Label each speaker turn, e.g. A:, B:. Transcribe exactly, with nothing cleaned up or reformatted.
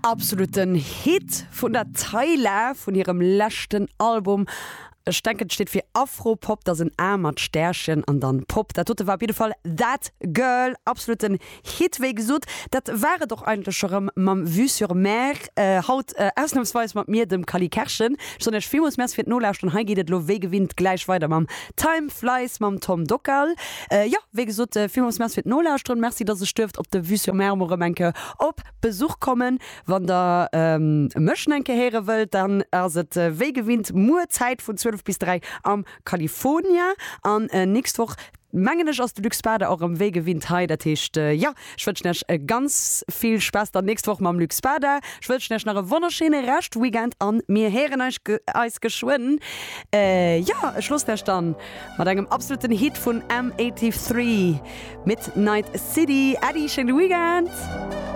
A: Absoluten Hit vun der Tyla vun hirem leschten Album. Ech denken, et steet fir Afropop, dat ass en A mat Stärchen an dann Pop. Dat dote war op jidde Fall That Girl, absoluten Hit, wéi gesot. Dat war et och eigentlech scho rëm mam Vue sur Mer, haut ausnamsweis mat mir, dem Cally Kerschen. Ech soen iech villmools Merci fir d'Nolauschteren. Hei geet et elo wéi gewinnt gläich weider mam Time Flies mam Tom Dockal. Jo, wéi gesot, villmools Merci fir d'Nolauschteren. Merci, dass ech duerft op de Vue sur Mer mol erëm eng Kéier op Besuch kommen. Wann der mech nach eng Kéier héiere wëllt, dann ass et wéi gewinnt muer Zäit vun zwielef bis dräi am California an nächst Woch mengen ech ass de Luc Spada och erëm wéi gewinnt hei. Dat heescht jo, ech wënschen iech ganz vill Spaass dann nächst Woch mam Luc Spada. Ech wënschen iech nach e wonnerschéine Reschtweekend an mir héieren eis eis geschwënn. Jo, ech loossen iech dann mat engem absoluten Hit vun M dräiundachtzeg, Midnight City. Äddi, schéine Weekend!